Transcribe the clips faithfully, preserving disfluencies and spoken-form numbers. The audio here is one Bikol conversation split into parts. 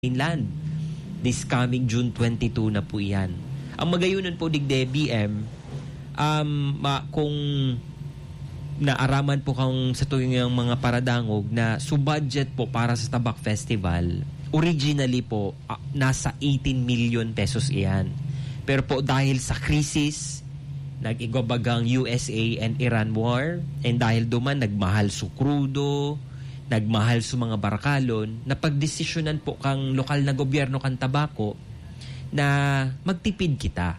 mainland. This coming June twenty-two na po iyan. Ang magayunan po digde, B M, um, ma-, kung naaraman po kang sa tuwing ang mga paradangog na su budget po para sa Tabak Festival, originally po, ah, nasa eighteen million pesos iyan. Pero po dahil sa krisis, nag-igwa bagang U S A and Iran war, and dahil duman nagmahal su krudo, nagmahal su mga barakalon, napagdesisyonan po kang lokal na gobyerno kan Tabaco na magtipid kita.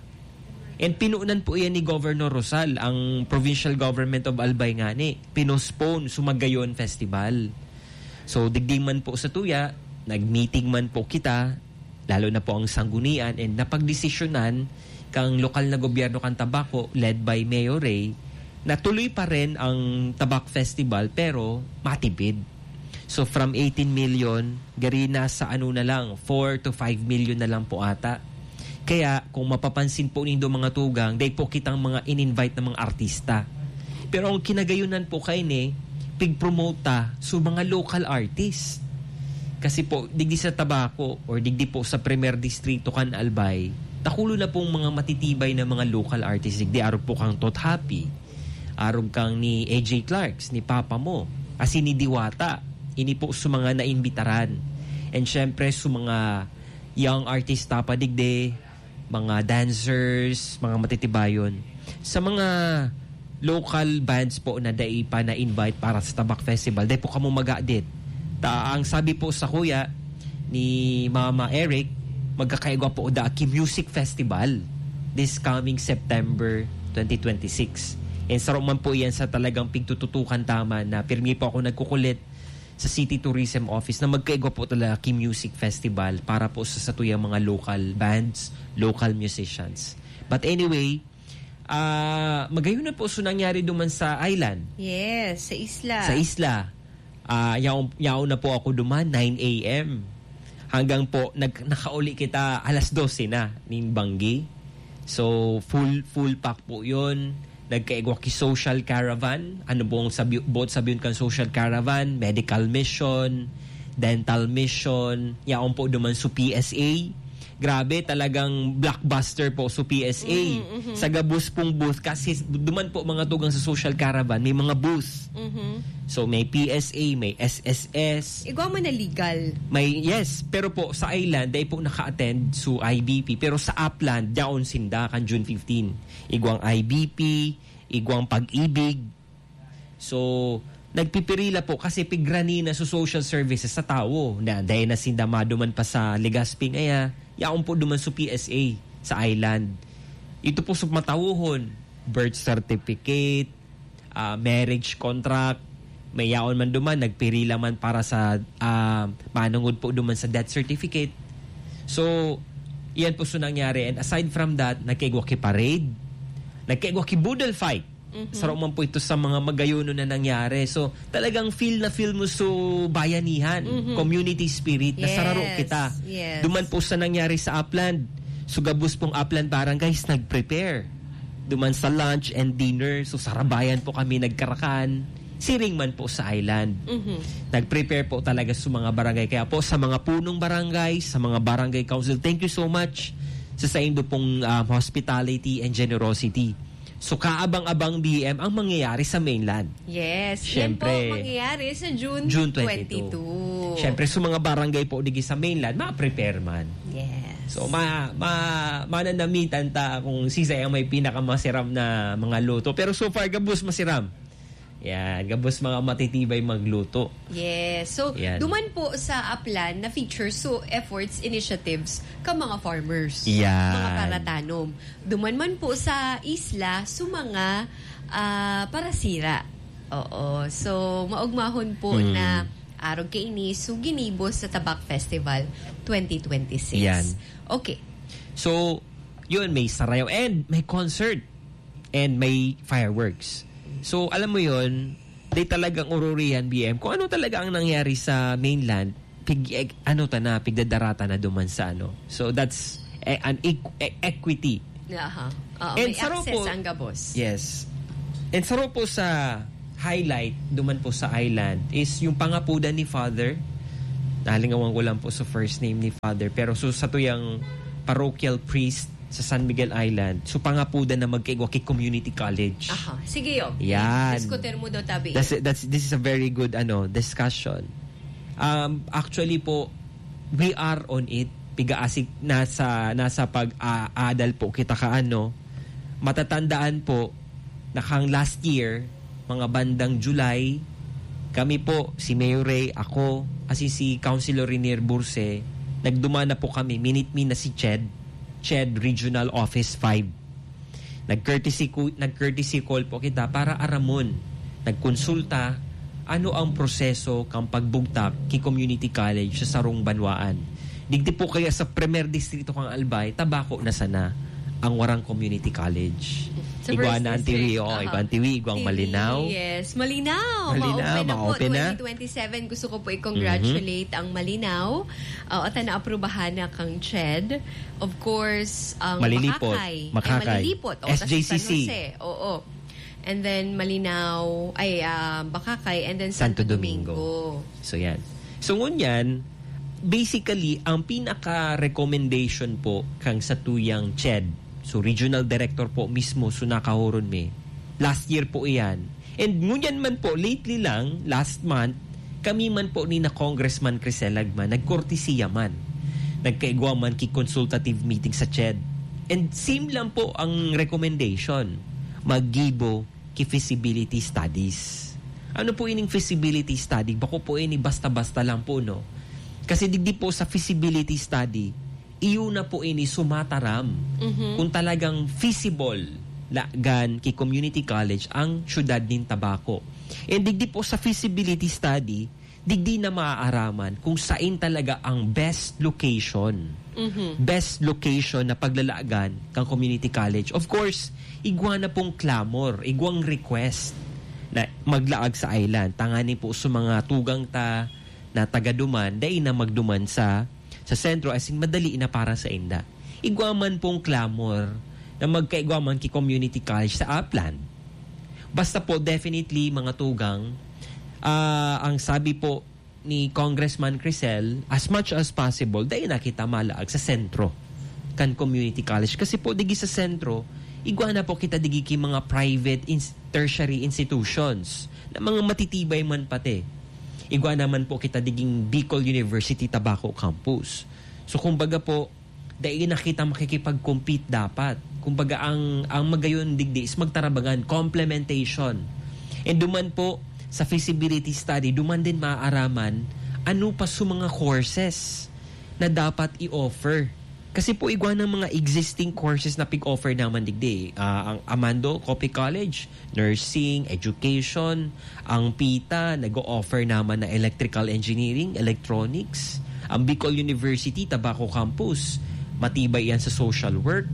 And pinunan po iyan ni Governor Rosal, ang provincial government of Albay ngani, pinospone su magayon festival. So, digdi man po sa tuya, nag-meeting man po kita, lalo na po ang sanggunian, and napagdesisyonan kang lokal na gobyerno kan Tabaco, led by Mayor Ray, na tuloy pa rin ang Tabak Festival, pero matipid. So, from eighteen million, gari na sa ano na lang, four to five million na lang po ata. Kaya, kung mapapansin po nindo mga tugang, dai po kitang mga in-invite na mga artista. Pero ang kinagayunan po kaini, pig-promote ta su mga local artist. Kasi po, digdi sa Tabaco or digdi po sa Primer Distrito kan Albay, takulo na pong mga matitibay na mga local artist. Digdi arog po kang Tot Happy, arog kang ni A J Clarks, ni Papa Mo, asin ni Diwata. Ini po su mga naimbitaran. And syempre, su mga young artista pa digdi, mga dancers, mga matitibayon. Sa mga local bands po na dai pa na-invite para sa Tabak Festival, dai po kamo magadit. Ta, ang sabi po sa kuya ni Mama Eric, magkakaigwa po da ki Music Festival this coming September twenty twenty-six. And saro man po yan sa talagang pigtututukan taman na pirmi po ako nagkukulit sa City Tourism Office na magkaigwa po talaga ki Music Festival para po sa satuyang mga local bands, local musicians. But anyway, ah, magayon na po so nangyari duman sa island. Yes, sa isla. Sa isla. Ah, yaon, yaon na po ako duman, nine a m. Hanggang po, nag-, nakauli kita alas dose na ning banggi. So, full, full pack po yun. Nagkaigwa ki social caravan. Ano pong sabi-, buot sabihin kan social caravan? Medical mission, dental mission. Yaon po duman su P S A. Grabe, talagang blockbuster po su P S A. Mhm, mhm. Sa gabos pong booth, kasi duman po mga tugang sa social caravan, may mga booth. Mhm. So, may P S A, may S S S. Igwa man na legal. May, yes, pero po sa island, dai po naka-attend su I B P, pero sa Upland, yaon sinda kan June fifteen. Igwang I B P, igwang Pag-ibig. So, nagpipirila po kasi pigrani na su social services sa tawo. Na, dai na sinda maduman pa sa Legazpi ngaya, yaon po duman su P S A sa island. Ito po su matawohon, birth certificate, ah, marriage contract, may yaon man duman, nagpirila man para sa, ah, manungod po duman sa death certificate. So, iyan po su nangyari. And aside from that, nagkaigwa ki parade, nagkaigwa ki boodle fight. Mhm. Saro man po ito sa mga magayonon na nangyari. So, talagang feel na feel mo su bayanihan, Mhm. community spirit, na sararo Yes, kita. yes. Duman po sa nangyari sa Upland. So, gabos pong Upland Barangays nag-prepare. Duman sa lunch and dinner. So, sarabayan po kami nagkarakan. Siring man po sa island. Mhm. Nag-prepare po talaga sa mga barangay. Kaya po, sa mga punong barangay, sa mga barangay council, thank you so much sa saindo pong, um, hospitality and generosity. So, kaabang-abang, B M, ang mangyayari sa mainland. Yes, yan po Siyempre. mangyayari sa June June twenty-two. twenty-two. Siyempre, sa mga barangay po digi sa mainland, ma-prepare man. Yes. So, ma-, ma-, mananamitan ta kung sisay ang may pinakamasiram na mga luto. Pero so far, gabos masiram. Yan, gabos mga matitibay magluto. Yes. So, Yan. duman po sa Upland na feature, so efforts, initiatives ka mga farmers, Yan. mga paratanom. Duman man po sa isla, so mga, ah, parasira. Oo. So, maugmahon po Hmm. na arog kaini, so ginibo sa Tabak Festival twenty twenty-six. Yan. Okay. So, yun, may sarayaw and may concert and may fireworks. So, alam mo yun, di talagang ururihan, B M, kung ano talaga ang nangyari sa mainland, pig, e-, ano ta na, pigdadarata na duman sa ano. So, that's e-, an equ-, e-, equity. Aha. Oo, And may saro access po ang gabos. Yes. And saro po sa highlight, duman po sa island, is yung pangapodan ni Father Nalingawan ko lang po sa first name ni Father. Pero so, satuyang parochial priest sa San Miguel Island, so pangapudan na magkaigwa ki community college. Aha. Sige, yo. Yan. Diskutir mo daw, tabi. That's, that's, this is a very good ano discussion. Um, actually po, we are on it. Pigaasik nasa nasa pag-aadal po kita kaano. Matatandaan po na kang last year, mga bandang July, kami po, si Mayor Ray, ako, kasi si Councilor Renier Burse, nagduman na po kami, minit mi na si Ched, Ched Regional Office five. Nag-courtesy, ku- nag-courtesy call po kita para aramon, nagkonsulta, ano ang proseso kang pagbugtak ki community college sa sarong banwaan. Digdi po kaya sa primer distrito kang Albay, tabako na sana ang warang community college. Sa Igwa first na ang Tiwi, district, oh, aha. Igwa ang Tiwi, Igwa ang Tiwi, Malinaw. Yes, Malinaw. Malinaw, Ma-open na po, ma-open na. twenty twenty-seven. Gusto ko po i-congratulate ang Malinaw. Uh, at naaprubahan na kang Ched. Of course, ang Malilipot. Makakay. Makakay. Ay, Malilipot. O, tas S J C C. San Jose. Oo. And then, Malinaw, ay, ah, Bakakay, and then Santo Santo, Domingo. Domingo. So yan. So ngunyan, basically, ang pinaka-recommendation po kang satuyang Ched, so regional director po mismo, so nakahuron mi, last year po iyan. And ngunyan man po, lately lang, last month, kami man po ni na Congressman Crisel Lagman, nagkortesiya man. Nagkaigwa man ki consultative meeting sa Ched. And same lang po ang recommendation. Maggibo ki feasibility studies. Ano po ining feasibility study? Bako po ini basta-basta lang po, no? Kasi digdi po sa feasibility study, iyo na po ini sumataram Mhm. kung talagang feasible lagan ki community college ang syudad nin Tabaco. And digdi po sa feasibility study, digdi na maaaraman kung sain talaga ang best location. Mhm. Best location na paglalagan kang community college. Of course, igwa na pong clamor, igwang request na maglaag sa island. Tangani po sa mga tugang ta na taga-duman, dai na magduman sa, sa sentro, as in, madali na para sa inda. Igwa man pong clamor na magkaigwa man ki community college sa Upland. Basta po, definitely, mga tugang, ah, ang sabi po ni Congressman Crisel, as much as possible, dai na kita malaag sa sentro kan community college. Kasi po, digi sa sentro, igwa na po kita digi ki mga private ins-, tertiary institutions na mga matitibay man pati. Igwa naman po kita diging Bicol University Tabaco Campus. So, kumbaga po, dai na kita makikipag-compete dapat. Kumbaga, ang, ang magayon digdi is magtarabangan, complementation. And duman po, sa feasibility study, duman din maaaraman ano pa sa mga courses na dapat i-offer. Kasi po, igwa ng mga existing courses na pig-offer naman digdi. Ah, ang Amando Coffee College, nursing, education, ang pita, nag-o-offer naman na electrical engineering, electronics. Ang Bicol University, Tabaco Campus, matibay yan sa social work,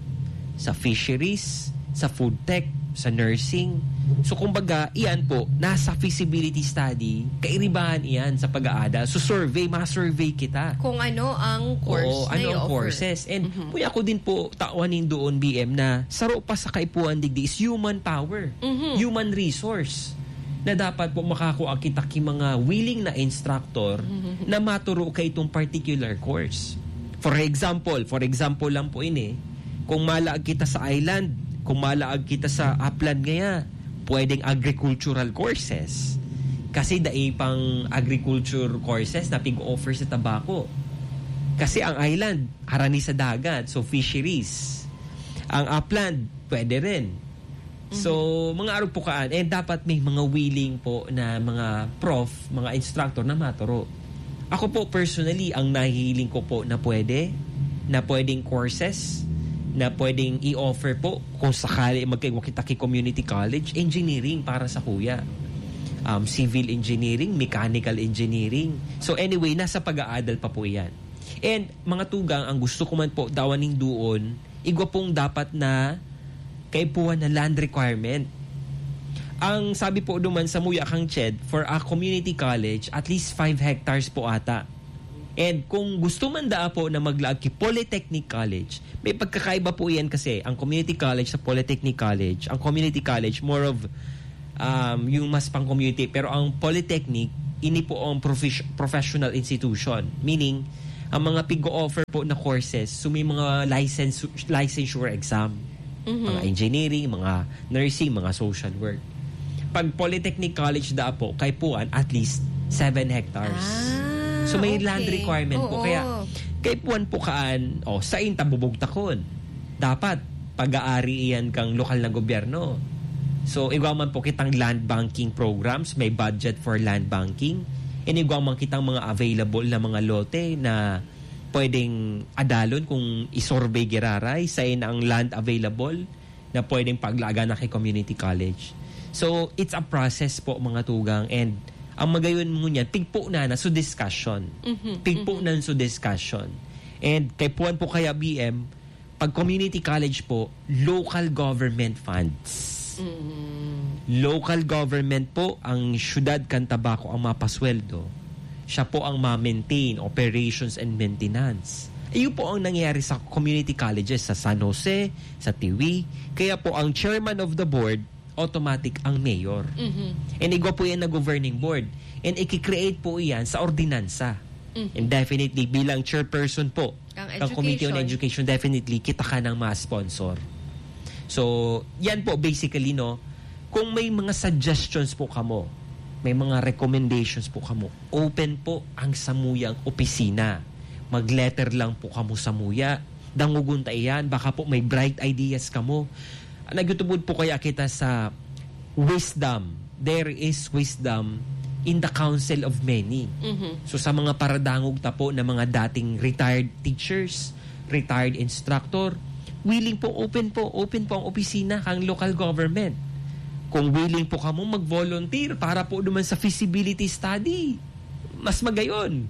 sa fisheries, sa food tech, sa nursing. So, kumbaga, iyan po, nasa feasibility study, kairibahan iyan sa pag-aada. So, survey, ma-survey kita. Kung ano ang course Oo, na ano ang i-offer. Courses. And Mhm. Kuya, ako din po, tawan nin doon, B M, na saro pa sa kaipuhan digdi is human power, Mhm. human resource, na dapat po makakua kita ki mga willing na instructor Mhm. na maturo ka itong particular course. For example, for example lang po ini, kung malaag kita sa island, kung malaag kita sa upland ngaya, pwedeng agricultural courses. Kasi dai pang agriculture courses na pig-offer sa Tabaco. Kasi ang island, harani sa dagat, so fisheries. Ang upland, pwede rin. So, mga arog po kaan, eh, dapat may mga willing po na mga prof, mga instructor na maturo. Ako po, personally, ang nahihiling ko po na pwede, na pwedeng courses, na pwedeng i-offer po, kung sakali magkaigwa kita ki community college, engineering para sa kuya. Um, civil engineering, mechanical engineering. So anyway, nasa pag-aadal pa po yan. And mga tugang, ang gusto ko man po, dawan nin doon, igwa pong dapat na kaipuhan na land requirement. Ang sabi po duman sa muya kang Ched, for a community college, at least five hectares po ata. And kung gusto man daa po na maglaag ki Polytechnic College, may pagkakaiba po iyan kasi ang community college sa Polytechnic College, ang community college more of um, yung mas pang-community, pero ang Polytechnic, Ini po ang profes- professional institution. Meaning, ang mga pig-o-offer po na courses, so may mga license- licensure exam. Mhm. Mga engineering, mga nursing, mga social work. Pag Polytechnic College da po, kaipuhan at least seven hectares. Ah, So may land okay. requirement po. Oo. Kaya kaipuhan po kaan, o sa inta bubugtakon. Dapat pag-aari iyan kang lokal na gobyerno. So, igwa man po kitang land banking programs, may budget for land banking. And igwa man kitang mga available na mga lote na pwedeng adalon kung isurvey giraray, sain ang land available na pwedeng paglagan na kay community college. So, it's a process po, mga tugang. And ang magayon mo niyan, pigpo na na, so discussion. Mhm, Pigpo mhm. na so discussion. And kaipuhan po kaya B M, pag community college po, local government funds. Mm. Local government po, ang syudad kan Tabaco ang mapasweldo. Siya po ang ma-maintain, operations and maintenance. Iyo po ang nangyayari sa community colleges sa San Jose, sa Tiwi. Kaya po ang chairman of the board, automatic ang mayor. Mhm. And igwa po yan na governing board. And iki-create po iyan sa ordinansa. Mhm. And definitely bilang chairperson po Ang ng Committee on education. Education, definitely kita ka ng mga sponsor. So, yan po basically, no. Kung may mga suggestions po kamo, may mga recommendations po kamo, open po ang samuyang opisina. Mag-letter lang po kamo samuya. Dangogon ta iyan, baka po may bright ideas kamo. Nagtutubod po kaya kita sa wisdom. There is wisdom in the counsel of many. Mhm. So, sa mga paradangog ta po na mga dating retired teachers, retired instructor, willing po, open po, open po ang opisina kang local government. Kung willing po kamo mag-volunteer para po naman sa feasibility study, mas magayon.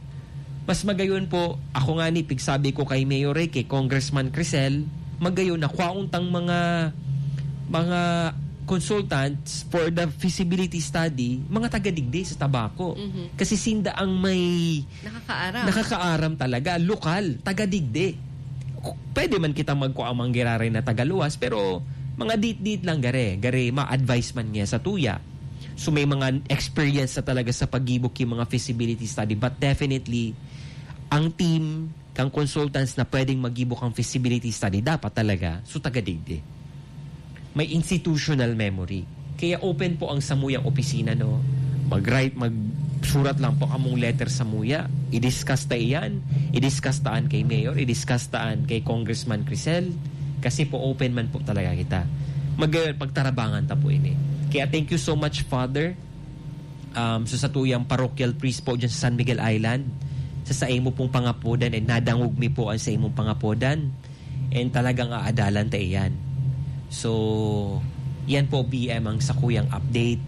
Mas magayon po, ako nga ni, pigsabi ko kay Mayor Ricky, Congressman Crisel, magayon na kwaon tang mga, mga consultants for the feasibility study, mga taga-digdi sa Tabaco. Mhm. Kasi sinda ang may Nakakaaram. nakakaaram talaga, lokal, taga-digdi. Pwede man kita magkua ang mga giraray na tagaluwas, pero mga dit-dit lang gare, gare ma-advise man niya sa tuya. So may mga experience na talaga sa paggibo ki mga feasibility study, but definitely ang team kang consultants na pwedeng maggibo kang feasibility study dapat talaga so taga-digdi. May institutional memory. Kaya open po ang samuyang opisina, no? Mag-write, magsurat lang po among letter samuya. I-discuss ta iyan. I-discuss taan kay Mayor. I-discuss taan kay Congressman Crisel. Kasi po open man po talaga kita. Mag-, pagtarabangan ta po ini. Kaya thank you so much, Father. Um, so sa tuyang parochial priest po dyan sa San Miguel Island, sa saimo pong pangapodan, and nadangog mi po ang saimong pangapodan, and talagang aadalan ta iyan. So, yan po, B M, ang sakuyang update.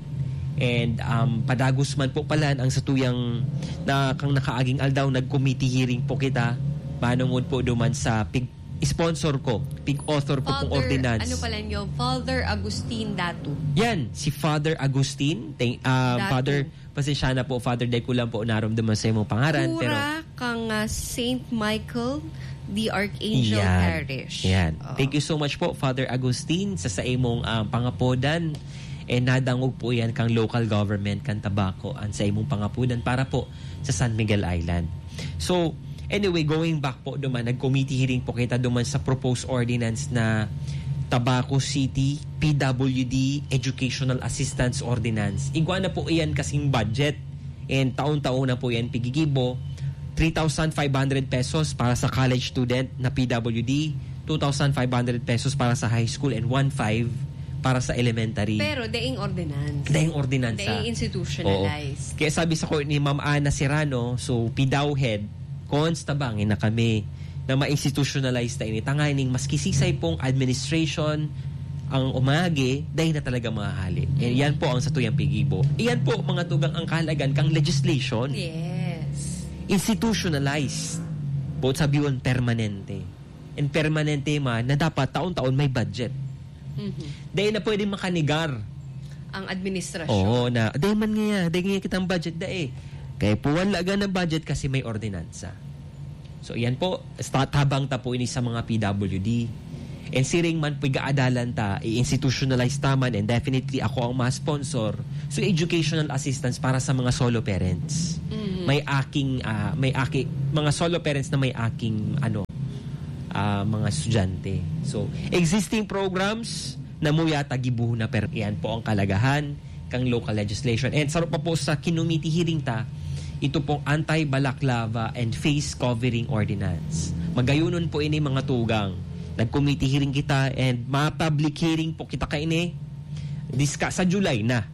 And um, padagos man po pala ang satuyang na kang nakaaging aldaw, nag-committee hearing po kita. Manungod po duman sa pig sponsor ko, pig-author ko pong Father, ordinance. Ano pala niyo? Father Agustin Datu. Yan, si Father Agustin. Thank, ah, Datu. Father, pasensya na po, Father, dai ko lang po narumdaman sa imong pangaran, pero Kura kang, ah, Saint Michael the Archangel Yan. Parish. Yan. Oo. Thank you so much po, Father Agustin, sa, sa imong, ah, pangapodan. And nadangog po yan kang local government, kang Tabaco, ang sa imong pangapodan para po sa San Miguel Island. So, anyway, going back po duman, nag-committee hearing po kita duman sa proposed ordinance na Tabaco City P W D Educational Assistance Ordinance. Igwa na po iyan kasing budget. And taon-taon na po iyan pigigibo. Three thousand five hundred pesos para sa college student na P W D, two thousand five hundred pesos para sa high school, and one five para sa elementary. Pero daing ordinance. Daing ordinansa. Daing institutionalize. Oo. Kaya sabi sa ko ni Ma'am Ana Serrano, so P D A W head, "Cons, tabangi na kami na ma-institutionalize ta ini. Tanganing maski sisay pong administration ang umagi, dai na talaga mahahali." And yan po ang satuyang pigibo. Iyan po, mga tugang, ang kahalagan kang legislation. Yes. Institutionalized. Both sabiwon, permanente. And permanente man na dapat taon-taon may budget. Mhm. Dai na pwedeng makanigar. Ang administrasyon. Oo, na, "Dai man ngaya, dai ngaya kitang budget, dai." Kaya po, wala ka ng budget kasi may ordinansa. So, yan po, sta-, tabang ta po ini sa mga P W D. And siring man po, igaadalan ta, i-institutionalize ta man, and definitely ako ang ma-sponsor. So, educational assistance para sa mga solo parents. Mhm. May aking, ah, may aki-, mga solo parents na may aking, ano, ah, mga estudyante. So, existing programs na muya tagibuhon na, pero iyan po ang kalagahan kang local legislation. And saro pa po sa kinumiti hearing ta, ito pong Anti-Balaclava and Face Covering Ordinance. Magayonon po ini, mga tugang. Nag-committee hearing kita and ma-public hearing po kita kaini. Diska sa July na.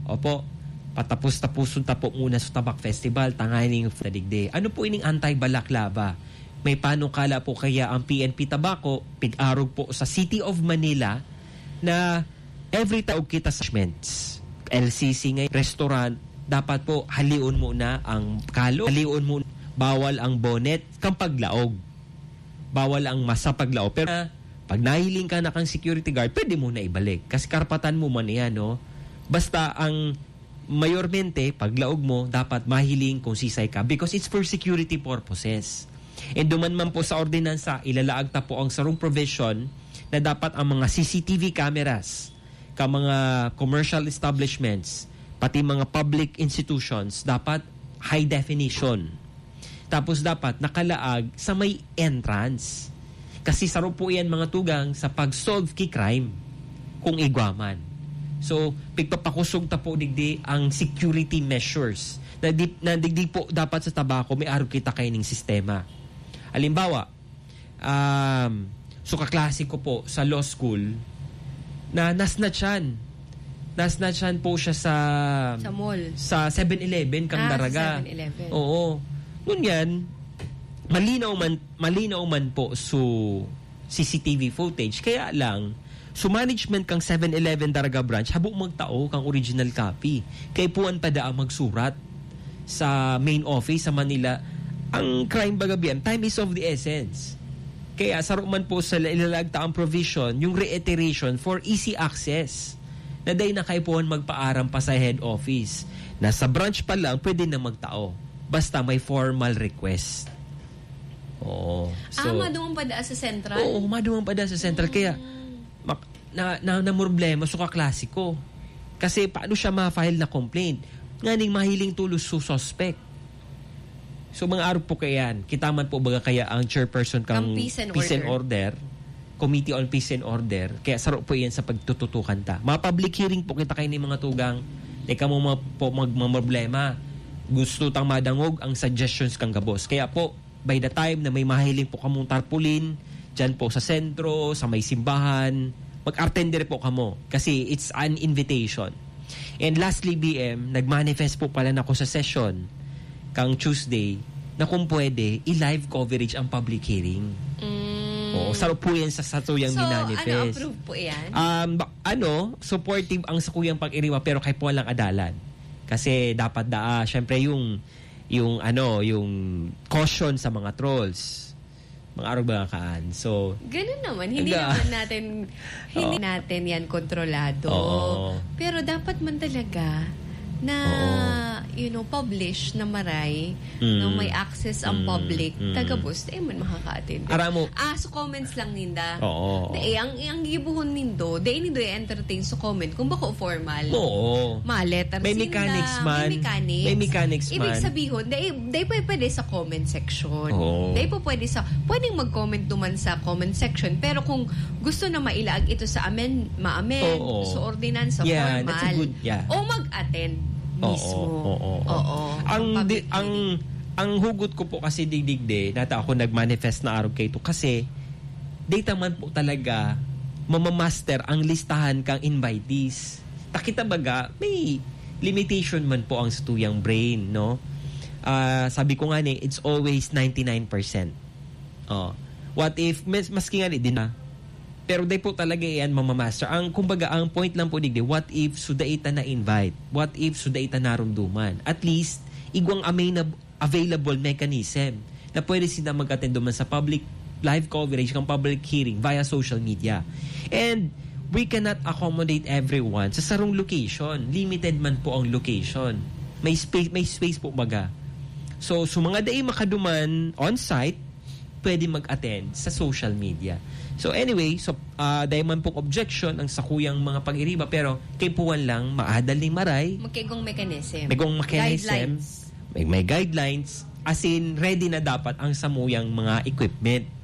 Opo. Patapos-tapuson ta po muna sa Tabak Festival, tanganing digdi. Ano po ining anti-balaclava? May panukala po kaya ang P N P Tabaco, pig-arog po sa City of Manila, na every taog kita sa establishments, L C C ngay, restaurant, dapat po halion mo na ang kalo, halion mo, bawal ang bonnet kan paglaog. Bawal ang masa paglaog. Pero na, pag nahiling ka na kang security guard, pwede mo na ibalik. Kasi karapatan mo man yan, no? Basta ang mayormente, paglaog mo, dapat mahiling kung sisay ka because it's for security purposes. And duman man po sa ordinansa, ilalaag ta po ang sarong provision na dapat ang mga C C T V cameras ka mga commercial establishments, pati mga public institutions, dapat high definition. Tapos dapat nakalaag sa may entrance. Kasi saro po yan, mga tugang, sa pag-solve ki crime, kung igwa man. So, pigpapakosog ta po digdi ang security measures. Na di, na digdi po dapat sa Tabaco, may arog kita kaining sistema. Halimbawa, um, so kaklase ko po sa law school, na nasnatchan. Nasnatchan po siya sa Sa mall. sa Seven Eleven, kang Ah, sa Daraga. Seven Eleven. Oo. Ngunyan, malinaw man, malinaw man po so C C T V footage. Kaya lang, so management kang Seven Eleven Daraga Branch, habo magtao kang original copy. Kay puwan pa daa magsurat sa main office sa Manila. Ang crime baga biyan, time is of the essence. Kaya saro man po sa ilalag ta ang provision, yung reiteration for easy access. Na dai na kaipuhan magpaaram pa sa head office. Na sa branch pa lang, pwede na magtao. Basta may formal request. Oo. Ah, So, maduman pa daa sa central? Oo, maduman pa daa sa central. Kaya, Mm. mak-, na, na, na problema so kaklase ko. Kasi paano siya ma-file na complaint? Nganing mahiling tulos so suspect. So, mga arog po kaya yan. Kita man po baga kaya ang chairperson kang Ang peace and peace and order. order, Committee on Peace and Order. Kaya saro po yan sa pagtututukan ta. Mga public hearing po kita kayo ni mga tugang. Di ka mo ma-, po magmamroblema. Gusto tang madangog ang suggestions kang gabos. Kaya po, by the time na may mahiling po kamong tarpaulin, dyan po sa sentro, sa may simbahan, mag-attend dire po kamo. Kasi it's an invitation. And lastly, B M, nag-manifest po pala na ako sa session kang Tuesday na kung pwede, i-live coverage ang public hearing. Mm. Oo, saro po yan sa satuyang So, minanifest. ano, approve po yan? Um, ba-, ano, supportive ang sakuyang pag-iriwa, pero kay po lang adalan. Kasi dapat daa, syempre yung, yung ano, yung caution sa mga trolls. Mga arog mga kaan. So, Ganun naman. Hindi Aga. naman natin, hindi Oo. natin yan kontrolado. Oo. Pero dapat man talaga na, Oo. you know, publish na maray, Mm. na may access ang Mm. public, Mm. taga-post, eh, man makaka-attend. Aram mo. Ah, so comments lang ninda. Oo. Dai, ang, ang gibuhon nindo, dai nindo i-entertain sa comment kung bako formal. Oo. Ma-letters May ninda, mechanics may man. mechanics. May mechanics Ibig man. sabihon, dai, dai pa pwede sa comment section. Oo. Dai pa pwede sa, pwedeng mag-comment duman sa comment section, pero kung gusto na mailaag ito sa amen-, ma-amend, Oo. sa ordinansa, Yan, that's a formal, good, yeah. o mag-attend Oo, mismo. oo, oo. Oo, Ang ang di-, public ang, hearing. ang hugot ko po kasi digdigde, nata ako nag-manifest na arog kay ito kasi data man po talaga mamamaster ang listahan kang invitees. Ta kita baga, may limitation man po ang satuyang brain, no? Ah, sabi ko nga ni, it's always ninety-nine percent. Oh. What if, mas, maski nga ni, di na. Pero di po talaga yan mamamaster. Ang, kumbaga, ang point lang po, digdi, what if so dai ta na-invite? What if so dai ta narumduman? At least, igwang amay na available mechanism na pwede sinda mag-attend duman sa public live coverage kang public hearing via social media. And we cannot accommodate everyone sa sarong location. Limited man po ang location. May space, may space po baga. So, so mga dai makaduman on-site, pwede mag-attend sa social media. So anyway, so uh, dahil man pong objection ang sakuyang mga pag-iriba, pero kaipuhan lang maadal ni Maray, Magkaigong mechanism. May igong mechanism, Guidelines. may, may guidelines, as in ready na dapat ang samuyang mga equipment.